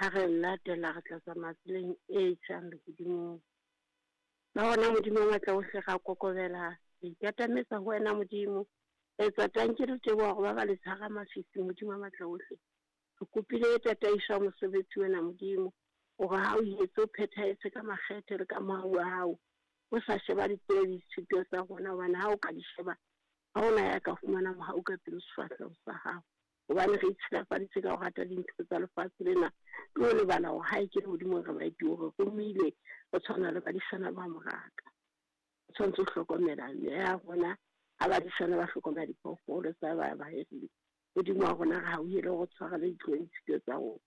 Ha re latela re tla tsamaya tseleng e isang lehodimong. Ka hona Modimo wa matla ohle ra kokobela, re ikatametsa ho wena Modimo. Re etsa tanki le teboho hore ba ba le tshwara mafifi Modimo wa matla ohle. Re kopile tataiso ya mosebetsi wena Modimo, hore ha o etse o phethahetse ka makgethe le ka mohau wa hao, o sa sheba ditsela le ditshito tsa rona, hobane ha o ka di sheba, ha hona ya ka fumana mohau ka pele sefahleho sa hao. Hobane re itshilafaditse ka ho rata dintho tsa lefatshe lena, le ho lebala hore hae ke lehodimong re baeti, o re romile re tshwana le badisana ba moraka. Re tshwanetse ho hlokomela meya ya rona, ha badisana ba hlokomela diphoofolo tsa ba ba hirileng. Modimo wa rona re hauhele hore tshwarele ditlolo le ditshito tsa rona.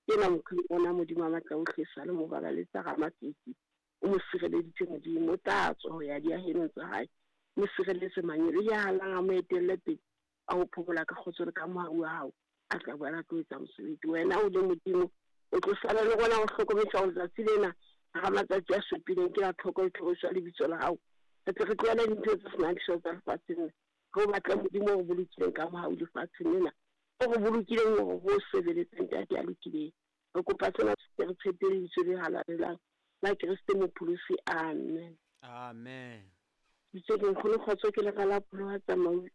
Ke ena rona Modimo wa matla ohle sale mo babaletsa Ramatsotsi. O mo sireleditse Modimo, o tla tswa ho ya diahelong tsa hae. Mo sireletse mangeloi a halang a mo etelle pele, a ho phomola ka kgotso le ka mohau wa hao, a tla boela a tlo etsa mosebetsi. Wena o le Modimo, o tlo sala le rona ho hlokomedisa hore letsatsi lena hara matsatsi a supileng ke la tlhoko le thoriso ya lebitso la hao. Re tle re tlohele dintho tse senang thuso tsa lefatsheng lena. Re o batle Modimo o re bolokileng ka mohau lefatsheng lena, o re bolokileng hore re o sebeletse Ntate ya lokileng. Re kopa tsena re tshepile lebitso le halalelang la Kreste Mopholosi. Amen. Amen. Bitso ke nkgono kgotso ke lera la pholo ha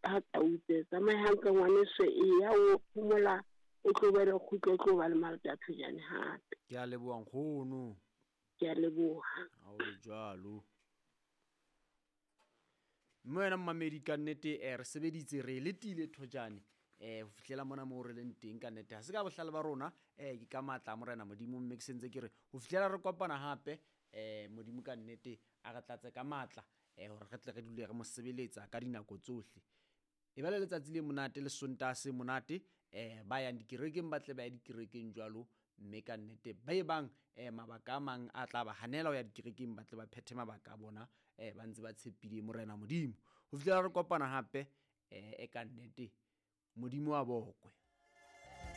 ha tsautse. Tsamaye hantle ngwaneso, eya o phomola, o tlo boela o kgutle, o tlo ba le malata a thojane hape. Ke a leboha nkgono. Ke a leboha. Ha o le jwalo. Mme wena mmamedi ka nnete re sebeditse re letile thojane ho fihlela mona moo re leng teng ka nnete. Ha se ka bohlale ba rona, ke ka matla a Morena Modimo, mme ke sentse ke re ho fihlela re kopana hape, Modimo ka nnete a re tlatse ka matla hore re tle re dule re mo sebeletsa ka dinako tsohle. E ba le letsatsi le monate le Sontaha se monate, ba yang dikerekeng ba tle ba ye dikerekeng jwalo, mme ka nnete ba e bang mabaka a mang a tla ba hanela ho ya dikerekeng ba tle ba phethe mabaka a bona ba ntse ba tshepile Morena Modimo. Ho fihlela re kopana hape, e ka nnete Modimo a bokwe.